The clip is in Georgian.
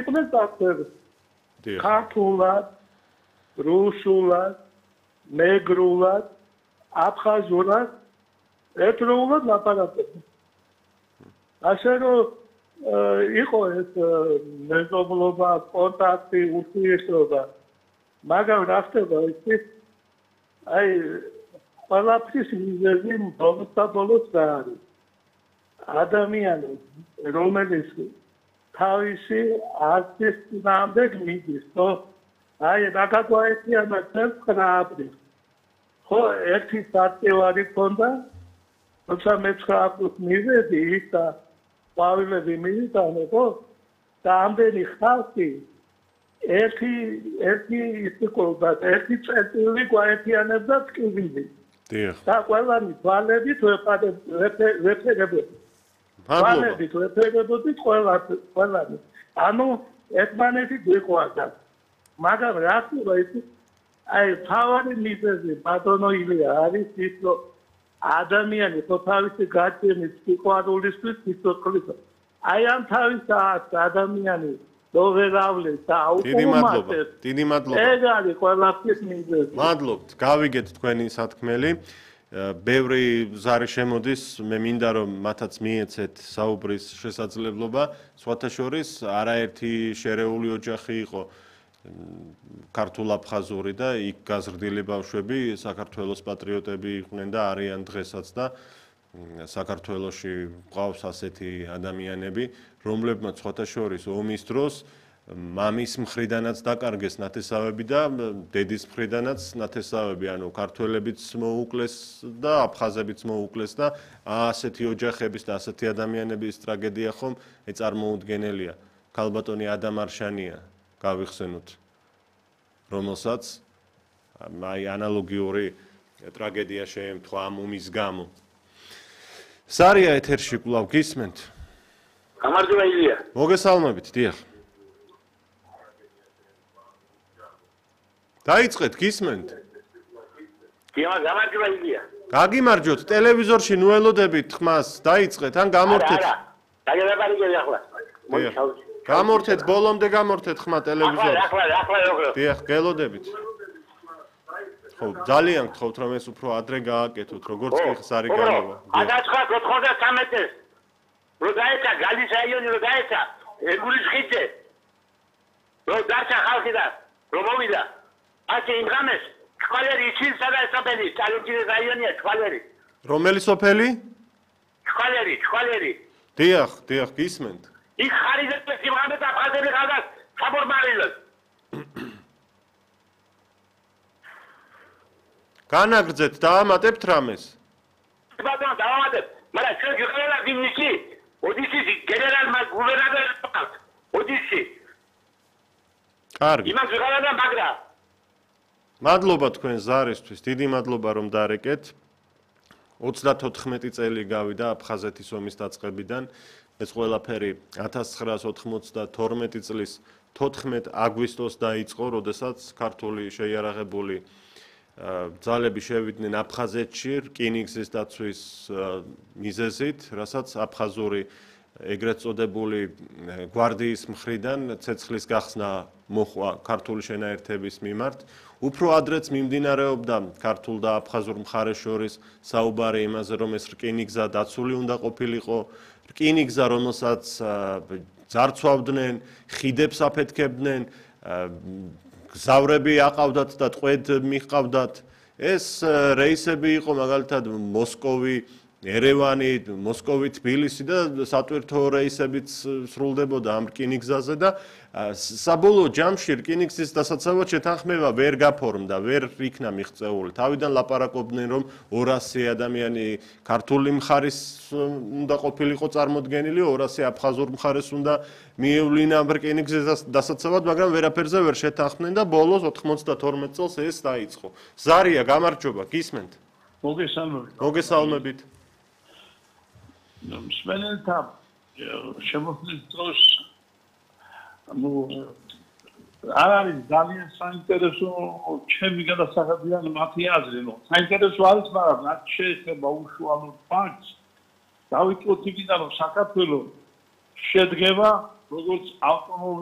იყვნენ წარწერები. ქართულად, რუსულად, მეგრულად, აფხაზურად, ერთდროულად ლაპარაკობდნენ. ასე რომ იყო ეს მეზობლობა, კონტაქტი, ურთიერთობა. მაგრამ რა ხდება ის აი ყველაფრის მიზეზი ბოლოს რა არის? ადამიანი, რომელიც თავისი არცის წინააღმდეგ მიდის, ხო? აი რაკაკოეთიანა წელს ხო, ერთი საწევარი ქონდა, თუმცა მე-9 აგვისტოს მივედი ის და ყვავილები მივიტანე, ხო? და ამდენი ხალხი ერთი ისიკობდა, ერთი წერტილი გვაერთიანებდა ტკივილი. და ყველანი თვალებით ვეფერებოდი. თვალებით ვეფერებოდით ყველანი. ანუ ერთმანეთი გვიყვარდა. მაგრამ რა ხდება ის აი თავარი მიზეზი ბატონო ილია არის ის რომ ადამიანი თავისი გაჩენის სიყვარულისთვის სიცოცხლის აი ამ თავის ადამიანი დოვერავლეს და აუპუმატეს. დიდი მადლობა. ეგ არის ყველაფრის მიზეზი. მადლობთ. გავიგეთ თქვენი სათქმელი. ბევრი ზარი შემოდის, მე მინდა რომ მათაც მიეცეთ საუბრის შესაძლებლობა. სხვათა შორის არაერთი შერეული ოჯახი იყო ქართულ-აფხაზური და იქ გაზრდილი ბავშვები საქართველოს პატრიოტები იყვნენ და არიან დღესაც და საქართველოში ყავს ასეთი ადამიანები, რომლებმაც სხვათა შორის ომის დროს მამის მხრიდანაც დაკარგეს ნათესავები და დედის მხრიდანაც ნათესავები, ანუ ქართველებიც მოუკლეს და აფხაზებიც მოუკლეს და ასეთი ოჯახების და ასეთი ადამიანების ტრაგედია ხომ წარმოუდგენელია. ქალბატონი ადამ არშანია გავიხსენოთ, რომელსაც აი ანალოგიური ტრაგედია შეემთხვა ამ ომის გამო. სარია ეთერში კვლავ გისმენთ? გამარჯობა ილია. მოგესალმებით, დიახ. დაიწყეთ, გისმენთ? დიახ, გამარჯობა ილია. გაგიმარჯოთ, ტელევიზორში ნუ ელოდებით ხმას, დაიწყეთ, ან გამორთეთ. არა, დაგებარიგები ახლა. გამორთეთ, ბოლომდე გამორთეთ ხმა ტელევიზორში. ახლა როგორ? დიახ, გელოდებით. ხო, ძალიან გთხოვთ რომ ეს უფრო ადრე გააკეთოთ, როგორც კი ხსარი გამოვა. 1993-ს რო დაეცა გალის რაიონი რო დაეცა ეგურის ხიდზე. რო დარჩა ხალხი და რო მოვიდა. ასე იმ ღამეს ჩქვალერი იცინსა და სოფელი, წალენჯირის რაიონია ჩქვალერი. რომელი სოფელი? ჩქვალერი. დიახ, გისმენთ. იქ ხარიზებს იმ ღამეს აფხაზები ხალხს საბორმარილოს. განაგრძეთ, დაამატებთ რამეს? ბატონო, დავამატებ, მაგრამ ჩვენ გიყოლა ვინისი, ოდისის გენერალმა გუბერნატორმა, ოდისი. კარგი. იმას ვიყალა და მაგრა. მადლობა თქვენ ზარისთვის, დიდი მადლობა რომ დარეკეთ. 34 წელი გავიდა აფხაზეთის ომის დაწყებიდან. ეს ყველაფერი 1992 წლის 14 აგვისტოს დაიწყო, როდესაც ქართული შეიარაღებული ძალები შევიდნენ აფხაზეთში რკინიგზის დაცვის მიზეზით, რასაც აფხაზური ეგრეთ წოდებული გვარდიის მხრიდან ცეცხლის გახსნა მოხვა ქართული შენაერთების მიმართ. უფრო ადრეც მიმდინარეობდა ქართულ და აფხაზურ მხარეს შორის საუბარი იმაზე, რომ ეს რკინიგზა დაცული უნდა ყოფილიყო, რკინიგზა, რომელსაც ძარცვავდნენ, ხიდებს აფეთქებდნენ, გზავრები აყავდათ და ტყვედ მიჰყავდათ. ეს რეისები იყო მაგალითად მოსკოვი, ერევანი, მოსკოვი, თბილისი და სატვირთო რეისებიც სრულდებოდა ამ რკინიგზაზე და საბოლოო ჯამში რკინიგზის დასაცავად შეთანხმება ვერ გაფორმდა, ვერ იქნა მიღწეული. თავიდან ლაპარაკობდნენ, რომ 200 ადამიანი ქართული მხარის უნდა ყოფილიყო წარმოდგენილი, 200 აფხაზურ მხარეს უნდა მიევლინა რკინიგზის დასაცავად, მაგრამ ვერაფერზე ვერ შეთანხმდნენ და ბოლოს 92 წელს ეს დაიწყო. ზარია, გამარჯობა, გისმენთ? მოგესალმებით. მსმენელთა შემოხლის დროს არ არის ძალიან საინტერესო ჩემი გადასახადიდან მათი აზრი, რომ საინტერესო არის, მაგრამ რაც შეეხება უშუალოდ ფაქტს, დავიწყოთ იქიდან, რომ საქართველო შედგება როგორც ავტონომიური